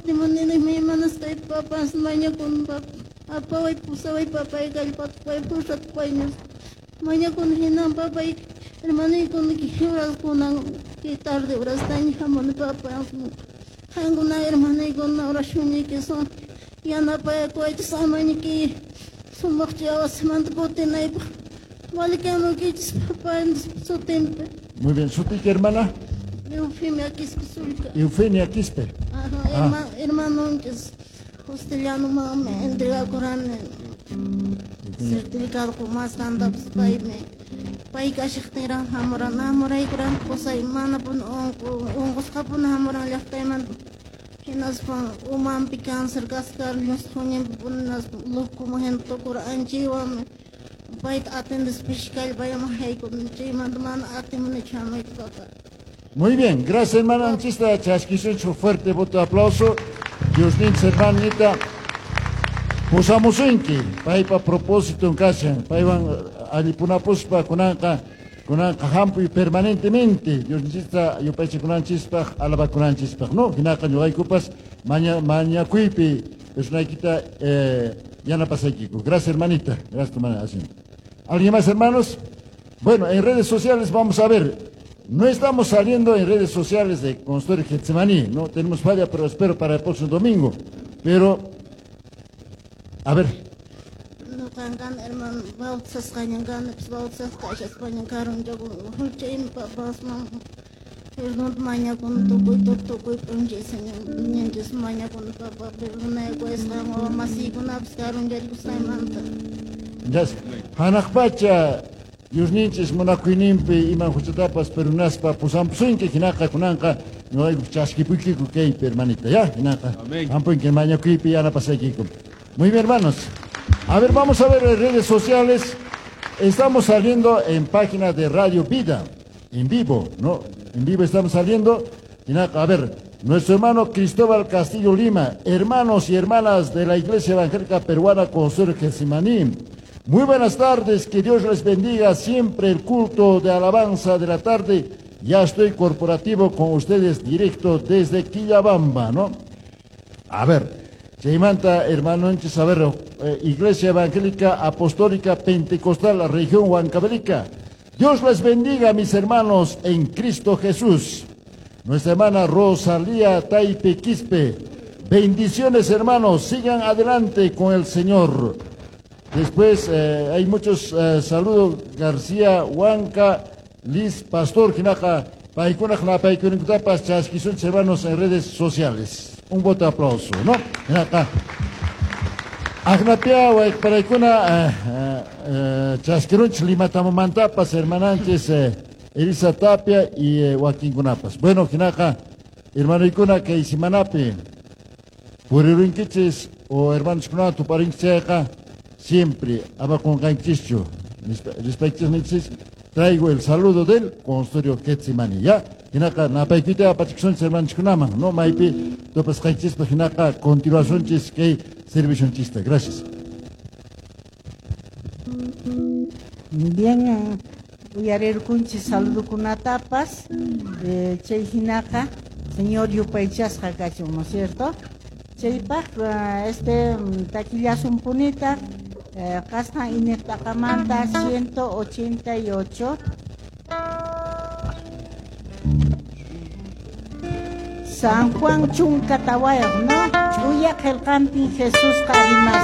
kutimuni imanasqay papas mañakun papa apaway pusaway papay kallpata quway fuerzata quway nispa mañakuni hinan papay hermanoykuna horas kay tarde horastaña hamuni papa qankuna hermanoykuna oracionniykisun yanapayakuwaychis amaña kay sumaq wasimanta kutinaypaq valikamuykichis papa sutinpi. Muy bien, ¿sutiki hermana? Eufemia Quispe Sulca. Eufemia Quispe. Ajá, hermanonchis Justellanomanmi entregakurani certificado qumasqantapas paymi pay kashaqtinraq hamuran hamuraykuran qusay manapuni unqusqapuni hamuran llaqtaymanta hinaspa umanpi cáncer kasqa llusqhuñinpi hinaspa locoman hina tukuran anchaywanmi payta atendespa pishi kallpallaman haykuni chaymanta mana atimunichu hamuyta papa. Muy bien, gracias hermana Anchista, chaskisunchik fuerte voto de aplauso. Diosninchik hermanita pusamusunki paypa propósito kashan paywan allipunapuspa kunanqa kunanqa hampuy permanentemente Diosninchista yupaychakunanchispaq alabakunanchispaq no hinaqa ñuqaykupas mañakuypi personaykita yanapasaykiku. Gracias hermanita, gracias hermana. ¿Alguien más, hermanos? Bueno, en redes sociales vamos a ver. No estamos saliendo en redes sociales de Consultorio Getsemaní, no tenemos falla, pero espero para el próximo domingo. Pero, a ver. Ñuqan hermano, bautizasqañan kanipas, bautizasqa kashaspañan karunchaku papasman perdón mañakuni tukuy tukuy p'unchay Señor mañakuni papa perdonaykuwasqan wawa masiykunapas karuncharikusqaymanta. Gracias. Hanaq pacha Diosninchis munakuyninpi iman huchatapas perunaspa pusampusunki hinaqa kunanqa ñuqayku chaskipuykiku kaypi hermanita ya hinaqa hampunki mañakuypi yanapasaykiku. Muy bien, hermanos. A ver, vamos a ver en redes sociales. Estamos saliendo en página de Radio Vida, en vivo, ¿no? En vivo estamos saliendo. Hinaqa, a ver, nuestro hermano Cristóbal Castillo Lima, hermanos y hermanas de la Iglesia Evangélica Peruana Consuelo Getsemaní. Muy buenas tardes, que Dios les bendiga siempre el culto de alabanza de la tarde. Ya estoy corporativo con ustedes directo desde Quillabamba, ¿no? A ver, chaymanta, hermano, a ver, Iglesia Evangélica Apostólica Pentecostal, la región Huancavelica. Dios les bendiga, mis hermanos, en Cristo Jesús. Nuestra hermana Rosalía Taipe Quispe. Bendiciones, hermanos, sigan adelante con el Señor. Después hay muchos saludos. García Huanca, Liz Pastor, hinaqa, paykunaq napaykunintapas chaskisunchis hermanos en redes sociales. Un voto de aplauso, ¿no? Hinaqa. Agnapia, wayqparaykuna chaskirunchis Limatamumantapas, hermananchis Elisa Tapia y wakinkunapas. Bueno, hinaqa, hermanoykuna kay simanapi purirunkichis o hermanoskuna tuparinchis chayqa siempre abakunqanchischu rispaychis traigo el saludo del consultorio Getsemaní, ya hinaqa napaykuyta apachikusunchis hermanoskunaman, no maypi tupasqanchispa hinaqa continuacionchis kay servicionchista. Gracias. Bien, uyarirkunchis saludukunatapas, chay hinaqa Señor yupaychasqa kachun, ¿no es cierto? Chaypaq taquillasunpunita qasqan iñiqtaqamanta 188 San Juan 14, ¿no? Ch'uya qillqanpin Jesusqa rimasqa.